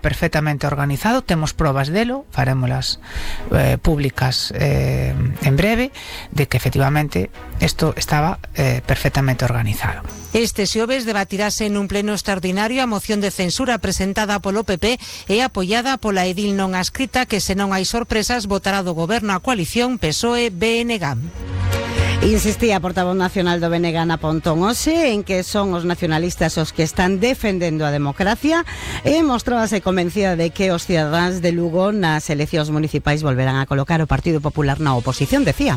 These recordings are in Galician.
perfectamente organizado, temos probas delo, farémolas públicas en breve, de que efectivamente isto estaba perfectamente organizado. Este xoves debatirase nun pleno extraordinario a moción de censura presentada polo PP e apoiada pola edil non adscrita que, se non hai sorpresas, votará do goberno a coalición PSOE-BNG. Insistía a portavoz nacional do BNG na Pontón hoxe en que son os nacionalistas os que están defendendo a democracia e mostrábase convencida de que os cidadáns de Lugo nas eleccións municipais volverán a colocar o Partido Popular na oposición, decía.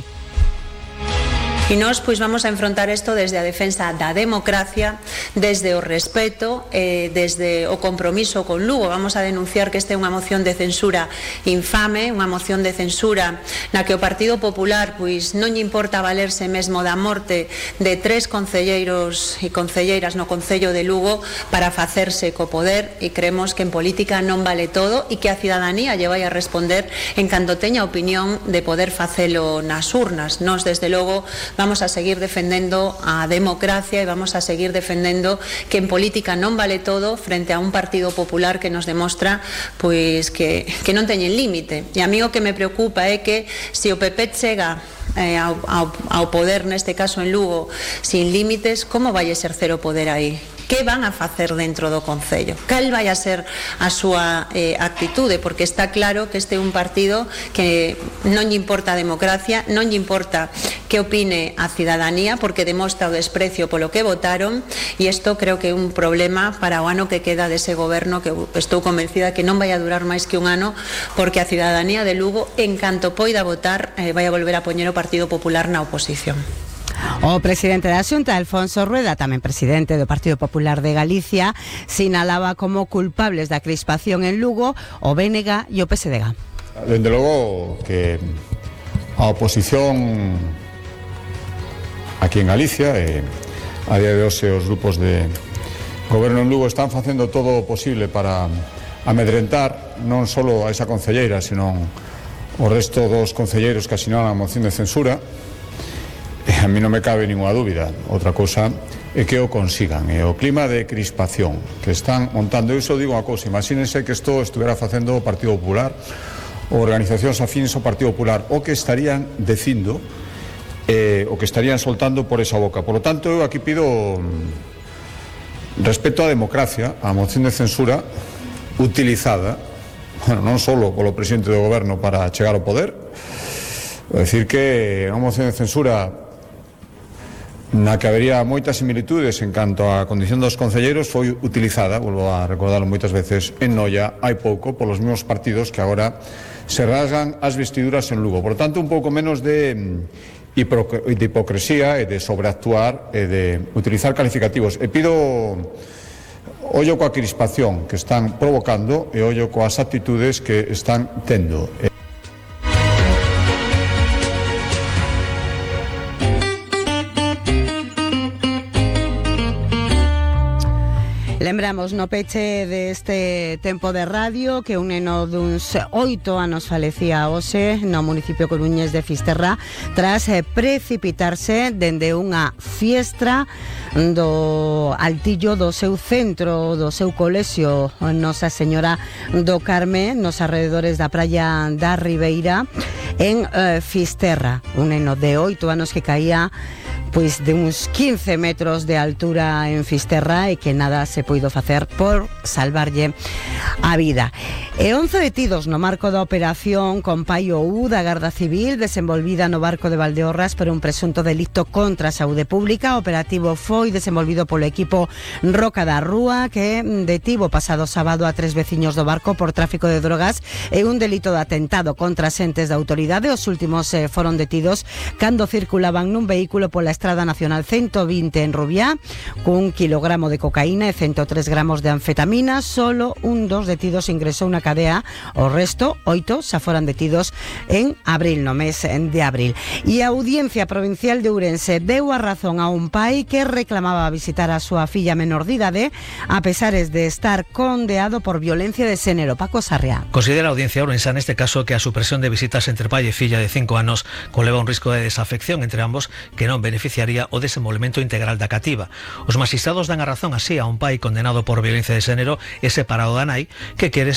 E nós pois vamos a enfrontar isto desde a defensa da democracia, desde o respeto, desde o compromiso con Lugo. Vamos a denunciar que esta é unha moción de censura infame, unha moción de censura na que o Partido Popular pois non lle importa valerse mesmo da morte de 3 concelleiros e concelleiras no Concello de Lugo para facerse co poder, e creemos que en política non vale todo e que a cidadanía lle vai a responder en canto teña opinión de poder facelo nas urnas. Nós, desde logo, vamos a seguir defendendo a democracia e vamos a seguir defendendo que en política non vale todo frente a un Partido Popular que nos demostra pois que non teñen límite. E a mí o que me preocupa é que se o PP chega ao poder, neste caso en Lugo, sin límites, como vai exercer o poder aí? Que van a facer dentro do Concello? Cal vai a ser a súa actitude? Porque está claro que este é un partido que non lle importa a democracia, non lle importa que opine a cidadanía, porque demostra o desprecio polo que votaron, e isto creo que é un problema para o ano que queda dese goberno, que estou convencida que non vai a durar máis que un ano, porque a cidadanía de Lugo, en canto poida votar, vai a volver a poñer o Partido Popular na oposición. O presidente da Xunta, Alfonso Rueda, tamén presidente do Partido Popular de Galicia, sinalaba como culpables da crispación en Lugo o BNG e o PSDG. Dende logo que a oposición aquí en Galicia e a día de hoxe os grupos de goberno en Lugo están facendo todo o posible para amedrentar non só a esa concelleira, sino o resto dos concelleiros que asinaron a moción de censura. A mí non me cabe ninguna dúbida. Outra cousa é que o consigan. E o clima de crispación que están montando, eu só digo unha cousa: imagínense que isto estuviera facendo o Partido Popular ou organizacións afíns ao Partido Popular, o que estarían dicindo, o que estarían soltando por esa boca. Por lo tanto, eu aquí pido respeto á democracia, á moción de censura utilizada, bueno, non só polo presidente do goberno para chegar ao poder. Vou dicir que é unha moción de censura na que habería moitas similitudes en canto á condición dos concelleiros, foi utilizada, volvo a recordarlo moitas veces, en Noia hai pouco polos mesmos partidos que agora se rasgan as vestiduras en Lugo. Por tanto, un pouco menos de hipocresía e de sobreactuar e de utilizar calificativos. E pido ollo coa crispación que están provocando e ollo coas actitudes que están tendo. Lembramos no peche deste tempo de radio que un neno duns 8 anos falecía hoxe no municipio coruñés de Fisterra tras precipitarse dende unha fiestra do altillo do seu centro, do seu colexio Nosa Señora do Carme, nos arredores da praia da Ribeira, en Fisterra. Un neno de 8 anos que caía pois de uns 15 metros de altura en Fisterra e que nada se puido facer por salvarlle a vida. E 11 detidos no marco da operación Compaio U da Garda Civil desenvolvida no barco de Valdeorras por un presunto delito contra a saúde pública. O operativo foi desenvolvido polo equipo Roca da Rúa, que detivo pasado sábado a 3 veciños do barco por tráfico de drogas e un delito de atentado contra xentes da autoridade. Os últimos foron detidos cando circulaban nun vehículo pola Estrada Nacional 120 en Rubiá cun kilogramo de cocaína e 103 gramos de anfetamina. Solo un dos detidos ingresou na cadea, o resto, 8, xa foran detidos en abril, no mes de abril. E a Audiencia Provincial de Ourense deu a razón a un pai que reclamaba visitar a súa filla menor de idade a pesares de estar condeado por violencia de xénero. Paco Sarriá. Considera a Audiencia Ourense neste caso que a supresión de visitas entre pai e filla de 5 anos conleva un risco de desafección entre ambos que non beneficiaría o desenvolvemento integral da cativa. Os magistrados dan a razón así a un pai condenado por violencia de xénero e separado da nai que quere